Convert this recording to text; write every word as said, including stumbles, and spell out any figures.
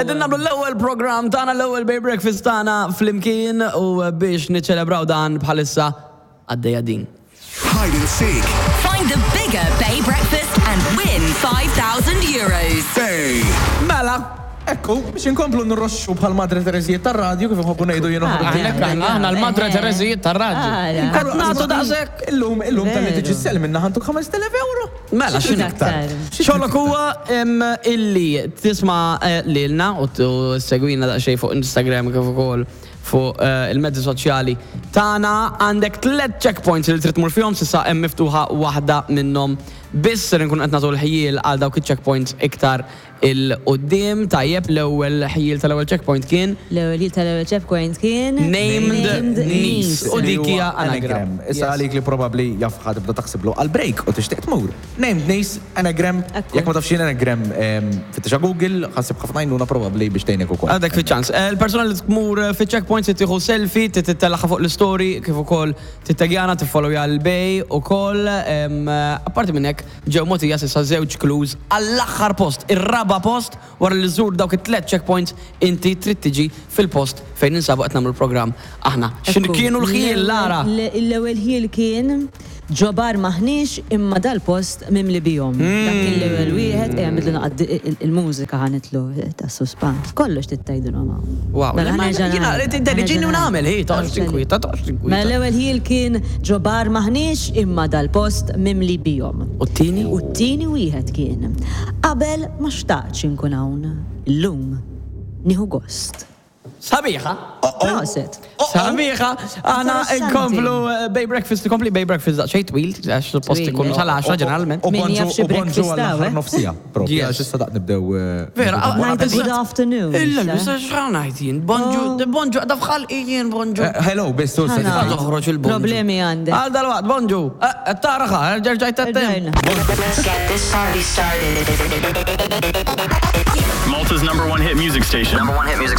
Qegħdin nagħmlu l-ewwel programm tagħna, l-ewwel Bay Breakfast tagħna flimkien u biex niċċelebraw dan bħalissa għaddejja din. Hide and seek. Find the bigger Bay Breakfast and win five thousand euros. Bay. Mela, Ekku, biex inkomplu nirroxxu bħal Madre Terezijiet tar-radju, kif nħobbu ngħidu jien. Ah, Aħna aħna aħna l-Madre Terezijiet tar-radju. Ara. Qed nagħtu daqshekk. Illum, illum tal-li Veru. tiġi sel minna ħa ntuk ħamest elef euro. Mela, x'inhu aktar? Xogħlok huwa em, illi tisma' eh, lilna u t- u segwina daqsxejn fuq Instagram kif ukoll fuq eh, il-mezzi soċjali tagħna. Għandek tliet checkpoints li trid tmur fihom. S'issa hemm miftuħa waħda minnhom biss. Ser nkun qed nagħtu l-ħjiel għal dawk iċ-checkpoints iktar 'il quddiem. Tajjeb, l-ewwel ħjiel tal-ewwel checkpoint kien L-ewwel ħjiel tal-ewwel checkpoint kien Named Niece. U dik hija anagram. Issa għalik li probabli jaf ħa tibda taħsiblu għal-break u tixtieq tmur. Named Niece, anagram. Ekku. Jekk ma tafx x'inhi anagram, em, fittixha Google, ħa ssib ħafna għajnuna probabli biex tgħinek ukoll. Għadek fi ċans. Eh, Il-persona li tmur fi checkpoints tieħu selfie, tittellaħa fuq l-story, kif ukoll tittaggjana, tiffollowja l-Bay ukoll. em, Apparti minn hekk, ġew mogħtija s'issa żewġ clues għall-aħħar post, ir-raba post. Wara li żżur dawk it-tliet checkpoints, inti trid tiġi fil-post fejn ninsabu qed nagħmlu l-programm aħna. X'in Ekku. kienu l-ħjiel, Lara? L-ewwel ħjiel kien "Ġo bar m'aħniex imma dal-post mimli bihom." Dak kien l-ewwel wieħed, ejja nbidlu naqad il-mużika, ħa nitlu ta' suspans. Kollox tittajdilhom hawn. Wow, Mela, ma ħa nerġa' jiena ngħid, tiddeġini u ħa nerġa' nagħmel, hi, toqgħodx ngħid. tinkwieta, toqgħodx tinkwieta. Mela l-ewwel ħjiel kien "Ġo bar m'aħniex imma dal-post mimli bihom." U t-tieni? U t-tieni wieħed kien "Qabel ma xtaqtx inkun hawn, illum nieħu gost." Sabiħa. Prosit. Sabiħa, aħna Interessanti. nkomplu eh, Bay Breakfast, nkompli Bay Breakfast daqsxejn twil, għax suppost Twil, ikunu eh. sal-għaxra ġeneralment. U Min bonġu jaf xi u bonġu breakfast għall-aħħar hawn, eh? nofsija. Propju, Yes. għax issa daq nibdew. eh, Vera, nibdew. ah, Ngħidu good afternoon. Illa, issa. issa x'ħa ngħid jien? Bonġu, bonġu, għadha f'ħalqi jien bonġu. Eh, Hello, biss tu Ħana. se Toħroġ il-bonġu. Problemi għandek. Għal dal-waqt, bonġu. Eh, Taraħa, rġajt għattem. Rġajna. Let's get this party started. Malta's number one hit music station. Number one hit music